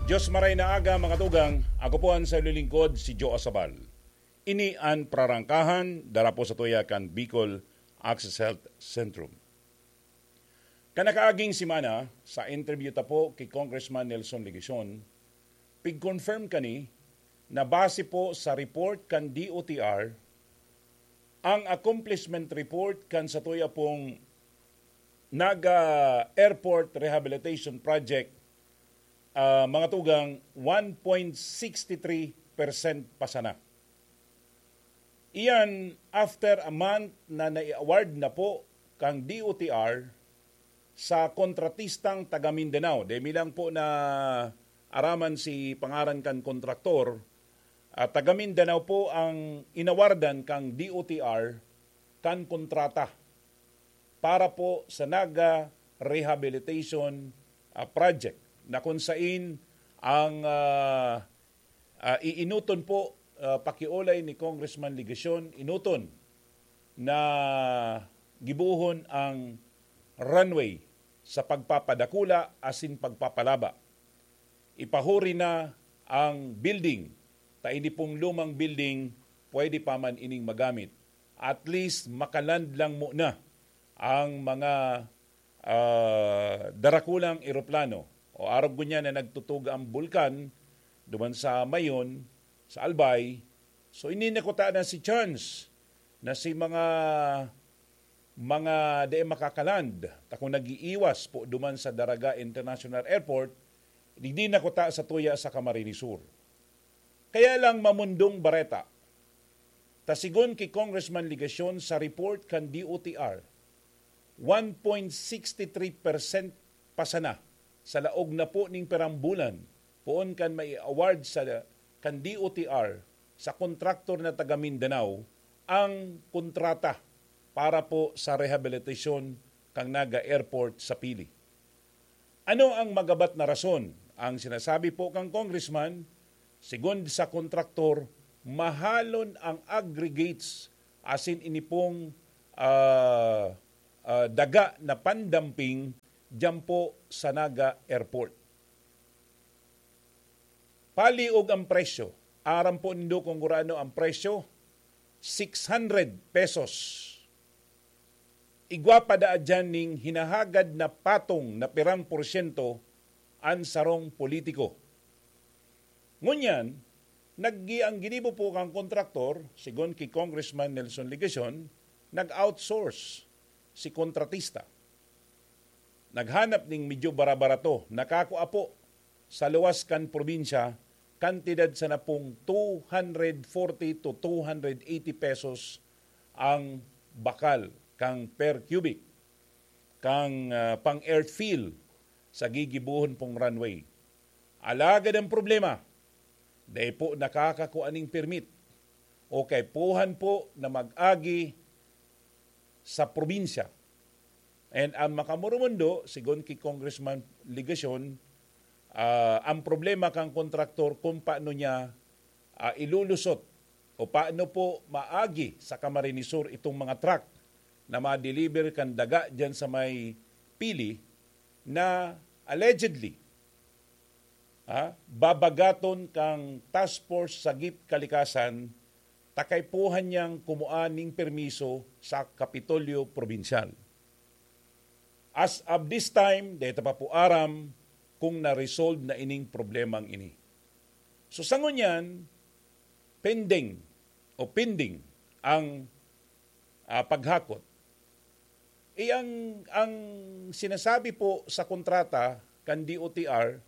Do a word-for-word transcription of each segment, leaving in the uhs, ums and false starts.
Diyos maray na aga, mga tugang. Ako po ang sa lingkod, si Joe Asabal. Ini an Prarangkahan, dara po sa tuya kan Bicol Access Health Centrum. Kanakaaging semana, sa interview ta po ki Congressman Nelson Legacion, pig-confirm kani na base po sa report kan D O T R, ang accomplishment report kan satuya pong Naga Airport Rehabilitation Project, ah, mga tugang, one point six three percent pa sana. Iyan after a month na nai-award na po kang D O T R sa kontratistang taga Mindanao. Dai mi lang po naaraman si pangaran kan kontraktor. Ah, taga Mindanao po ang inawardan kang D O T R kan kontrata para po sa Naga Rehabilitation, ah, Project, na kung sain ang, ah, ah, iinoton po, ah, pakiolay ni Congressman Legacion, inoton na gibohon ang runway sa pagpapadakula asin pagpapalaba. Ipahuri na ang building, ta ini pong lumang building pwede pa man ining magamit. At least, makaland lang muna ang mga, ah, darakulang eroplano o arog ngunyan na nagtutog ang bulkan duman sa Mayon, sa Albay. So, ini na kuta na si chance na si mga, mga dai makakaland, ta kung nag-iiwas po duman sa Daraga International Airport, digdi na kuta sa tuya sa Camarines Sur. Kaya lang, Mamundong Bareta, ta sigon ki Congressman Legacion sa report kan D O T R, one point six three percent pa sana sa laog na po ning pirang bulan, poon kan mai-award sa, kan D O T R sa kontraktor na taga Mindanao ang kontrata para po sa rehabilitasyon kan Naga Airport sa Pili. Ano ang magabat na rason? Ang sinasabi po kang congressman, sigon sa kontraktor, mahalon ang aggregates asin ini pong, ah, ah, daga na pandamping diyan po sa Naga Airport. Paliog ang presyo. Aram po nindo kung gurano ang presyo, six hundred pesos. Igwa pa daa diyan ning hinahagad na patong na pirang porsyento an sarong politiko. Ngunyan, naggi-, ang ginibo po kan kontraktor, sigon ki Congressman Nelson Legacion, nag-outsource si kontratista. Naghanap ning medyo barabarato, nakakua po sa luwas kan probinsya, kantidad sana pong two hundred forty to two hundred eighty pesos ang bakal kan per cubic kan, ah, pang-earthfill sa gigibohon pong runway. Alagad ang problema, dai po nakakakua ning permit o kaipuhan po na mag-agi sa probinsya. And ang makamoromundo, sigon ki Congressman Legacion, ah, ang problema kan kontraktor kung paano niya, ah, ilulusot o paano po maagi sa Camarines Sur itong mga truck na ma-deliver kan daga diyan sa may Pili na allegedly, ah, babagaton kang Task Force Sagip Kalikasan ta kaipuhan niyang kumua ning permiso sa Kapitolyo Probinsyal. As of this time, dai ta pa po aram kung na-resolve na ining problemang ini. So, sa ngunyan, pending o pending ang, ah, paghakot. Eh, ang, ang sinasabi po sa kontrata kan D O T R,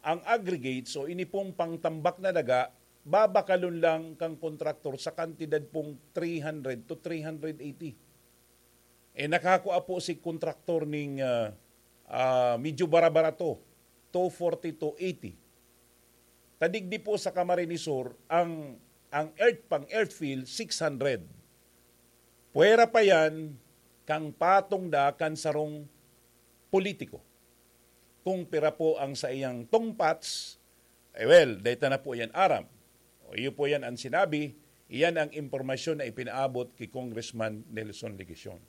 ang aggregates o ini pong pangtambak na daga, babakalon lang kan kontraktor sa kantidad pong three hundred to three hundred eighty. Eh, nakakua po si kontraktor ning, ah, ah, medyo barabarato, two forty to eighty. Ta digdi po sa Camarines Sur, ang, ang earth, pang-earthfill, six hundred. Pwera pa yan, kang patong da kan sarong politiko. Kung pira po ang saiyang tungpats, eh, well, dai ta na po yan aram. O, iyo po yan ang sinabi, iyan ang impormasyon na ipinaabot ki Congressman Nelson Legacion.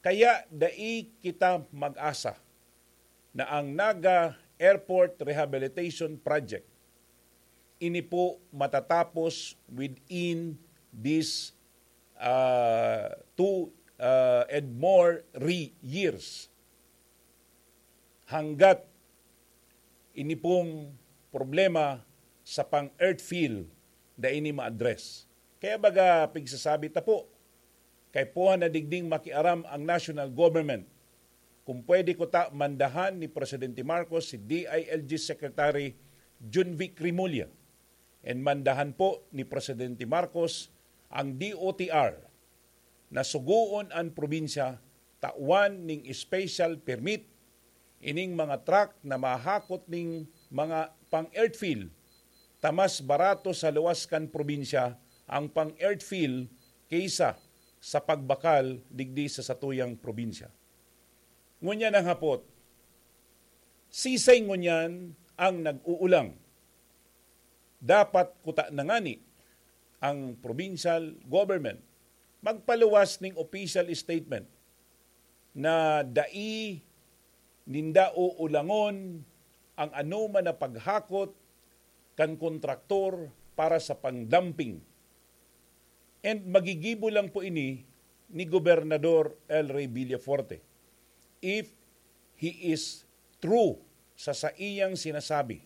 Kaya dai kita mag-asa na ang Naga Airport Rehabilitation Project. Ini po matatapos within this, ah, two, ah, and more re-, years. Hanggat ini pong problema sa pang-earth fill na ini ma-address. Kaya baga pigsasabi ta po, kaipuhan na digding makiaram ang national government. Kung pwede kuta, mandahan ni Presidente Marcos si D I L G Secretary Junvic Remulla. And mandahan po ni Presidente Marcos ang D O T R na sugoon an probinsya tawan ning special permit ining mga truck na mahakot ning mga pang-earth fill, ta mas barato sa luwas kan probinsya ang pang-earth fill kaysa sa pagbakal digdi sa satuyang probinsya. Ngunyan ang hapot, sisay ngunyan ang nag-uulang? Dapat kuta na ngani ang provincial government magpaluwas ning official statement na dai ninda uulangon ang anoman na paghakot kan kontraktor para sa pang-dumping. And magigibo lang po ini ni Gobernador El Rey Villafuerte if he is true sa saiyang sinasabi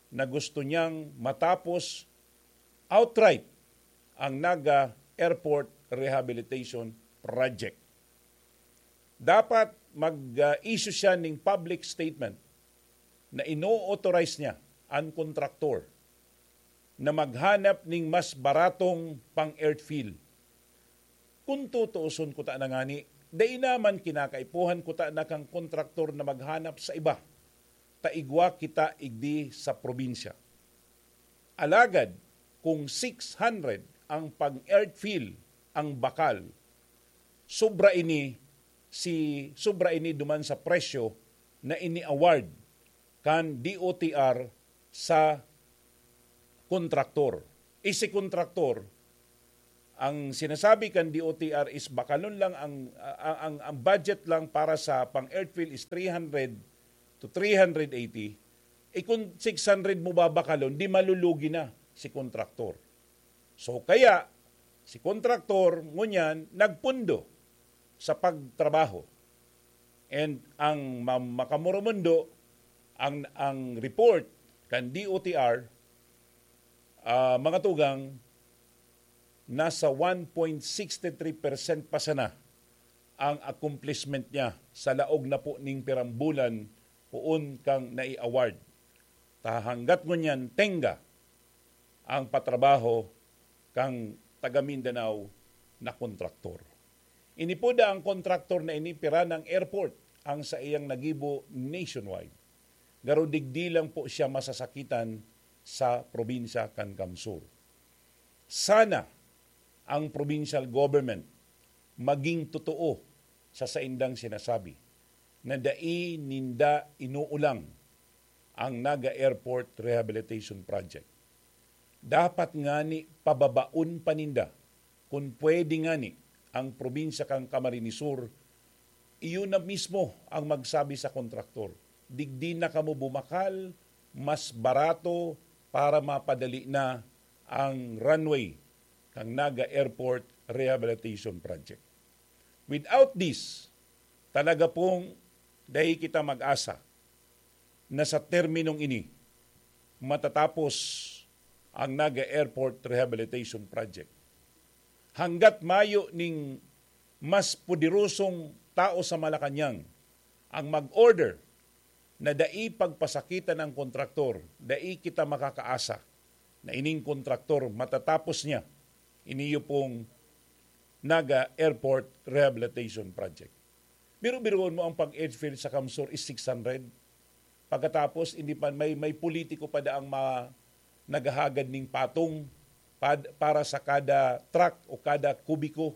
na gusto niyang matapos outright ang Naga Airport Rehabilitation Project. Dapat mag-issue siya ning public statement na ino-authorize niya an kontraktor na maghanap ning mas baratong pang-earth fill. Kung tutuuson kuta na ngani, dai naman kinakaipuhan kuta na kan kontraktor na maghanap sa iba, ta igwa kita igdi sa probinsya. Alagad kung six hundred ang pang-earth fill ang bakal, sobra ini si sobra ini duman sa presyo na ini-award kan D O T R sa kontraktor. Isi kontraktor, ang sinasabi kan D O T R is bakalon lang ang, ang, ang, ang budget lang para sa pang-earth fill is three hundred to three hundred eighty. E kung six hundred mo babakalon, di malulugi na si kontraktor. So kaya, si kontraktor ngunyan nagpundo sa pagtrabaho. And ang ma-, makamoromundo, ang, ang report kan D O T R, ah, mga tugang, nasa one point six three percent pa sana ang accomplishment niya sa laog na po ning pirang bulan poon kang nai-award. Ta hanggat ngunyan, tengga ang patrabaho kang taga Mindanao na kontraktor. Ini po da ang kontraktor na ini, pira nang airport ang saiyang nagibo nationwide. Garo digdi lang po siya masasakitan sa probinsya kan Kamsur. Sana ang provincial government maging totoo sa saindang sinasabi na dai ninda inuulang ang Naga Airport Rehabilitation Project. Dapat ngani pababaon pa ninda, kun pwede ngani, ang probinsya kan Camarines Sur. Iyo na mismo ang magsabi sa kontraktor, "Digdi na kamo bumakal, mas barato para mapadali na ang runway kan Naga Airport Rehabilitation Project." Without this, talaga pong dai kita mag-asa na sa terminong ini matatapos ang Naga Airport Rehabilitation Project. Hanggat mayo ning mas poderosong tao sa Malacañang ang mag-order na dai pagpasakitan ang kontraktor, dai kita makakaasa na ining kontraktor matatapos niya ini pong Naga Airport Rehabilitation Project. Biro-biroon mo, ang pag-airfield sa Kamsur is six hundred. Pagkatapos, hindi pa, may, may politiko pa daang ma-, naghahagad ning patong pad-, para sa kada truck o kada kubiko.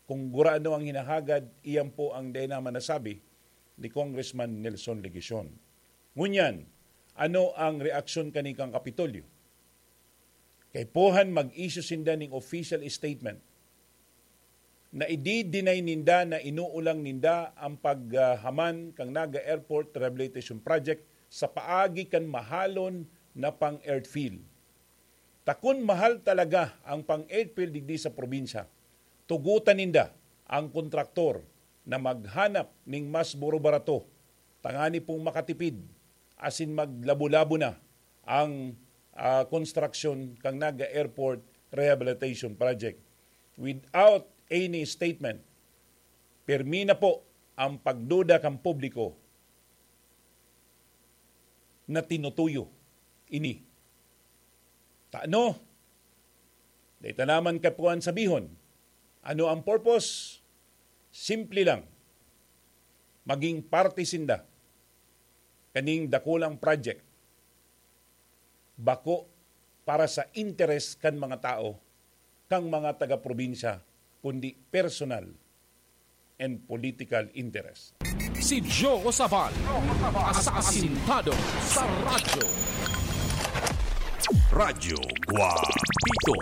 Kung gurano ang hinahagad, iyan po ang dai naman nasabi ni Congressman Nelson Legacion. Ngunyan, ano ang reaksyon kani kan Kapitolyo? Kaipuhan mag-issue sinda ning official statement na idi-deny ninda na inuulang ninda ang paghaman kan Naga Airport Rehabilitation Project sa paagi kan mahalon na pang-earthfill. Ta kun mahal talaga ang pang-earthfill digdi sa probinsya, tugotan ninda ang kontraktor na maghanap ning mas buro-barato tangani pong makatipid asin maglabo-labo na ang, ah, konstruksyon kan Naga Airport Rehabilitation Project. Without any statement, pirmi na po ang pagduda kan publiko na tinutuyo ini. Ta ano? Dai ta naman kapuan sabihon. Ano ang purpose? Simple lang. Maging parte sinda kaning dakulang project. Bako para sa interes kan mga tao, kan mga taga-probinsya, kundi personal and political interest. Si Joe Sabal, asasintado sa radyo. Radyo Guapito.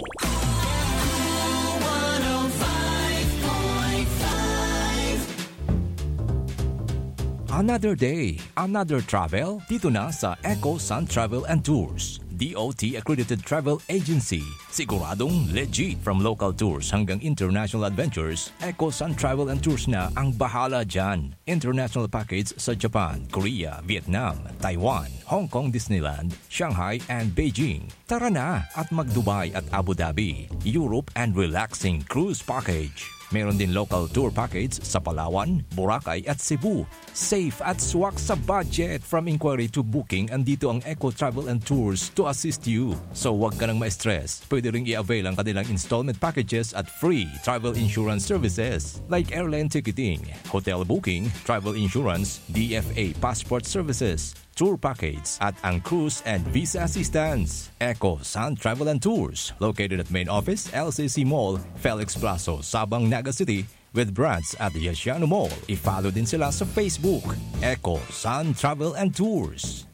Another day, another travel, dito na sa Eco Sun Travel and Tours, D O T accredited travel agency. Siguradong legit. From local tours hanggang international adventures, Eco Sun Travel and Tours na ang bahala dyan. International package sa Japan, Korea, Vietnam, Taiwan, Hong Kong Disneyland, Shanghai, and Beijing. Tara na at mag-Dubai at Abu Dhabi, Europe, and relaxing cruise package. Meron din local tour package sa Palawan, Boracay, at Cebu. Safe at swak sa budget. From inquiry to booking, andito ang Eco Travel and Tours to assist you. So, wag ka nang ma-stress. Pwede ring i-avail ang kanilang installment packages at free travel insurance services like airline ticketing, hotel booking, travel insurance, D F A passport services, tour package, at ang cruise and visa assistance. Eco Sun Travel and Tours, located at main office, L C C Mall, Felix Plazo, Sabang, Naga City, with branch at Yasiano Mall. I-follow din sila sa Facebook, Eco Sun Travel and Tours.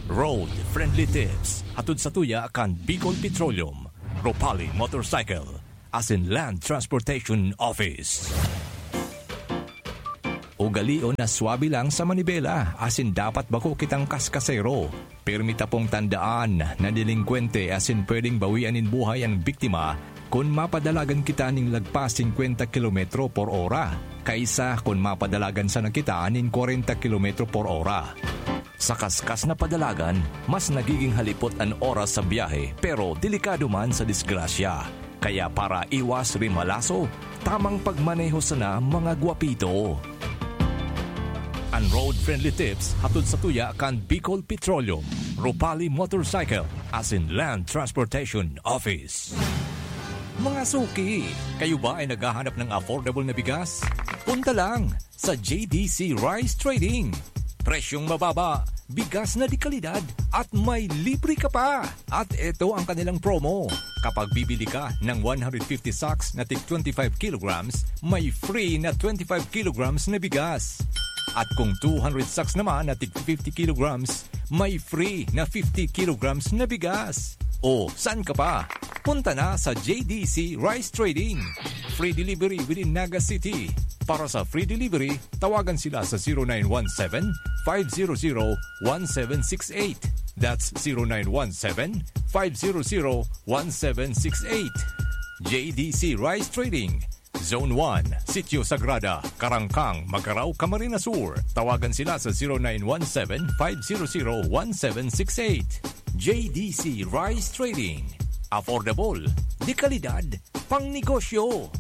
Road Friendly Tips, hatod sa tuya kan Bicol Petroleum, Ropali Motorcycle, asin Land Transportation Office. Ugalion na swabe lang sa manibela, asin dapat bako kitang kaskasero. Pirmi ta pong tandaan na delengkwente asin pwedeng bawian nin buhay an biktima kun mapadalagan kita nin lagpas singkwenta kilometro por ora, kaisa kun mapadalagan sana kita nin kwarenta kilometro por ora. Sa kaskas na padalagan, mas nagiging halipot an oras sa biyahe, pero delikado man sa disgrasya. Kaya para iwas rimalaso, tamang pagmaneho sana, mga gwapito. An road-friendly tips hatod sa tuya kan Bicol Petroleum, Ropali Motorcycle, asin Land Transportation Office. Mga suki, kayo ba ay naghahanap ng affordable na bigas? Punta lang sa J D C Rice Trading. Presyong mababa, bigas na de kalidad, at may libre ka pa. At eto ang kanilang promo. Kapag bibili ka ng one hundred fifty sacks na tig twenty-five kilograms, may free na twenty-five kilograms na bigas. At kung two hundred sacks naman na tig fifty kilograms, may free na fifty kilograms na bigas. O, saan ka pa? Punta na sa J D C Rice Trading. Free delivery within Naga City. Para sa free delivery, tawagan sila sa zero nine one seven, five zero zero, one seven six eight. That's zero nine one seven, five zero zero, one seven six eight. J D C Rice Trading, Zone one, Sitio Sagrada, Karangkang, Magarao, Camarines Sur. Tawagan sila sa zero nine one seven, five zero zero, one seven six eight. J D C Rice Trading. Affordable, de kalidad, pang negosyo.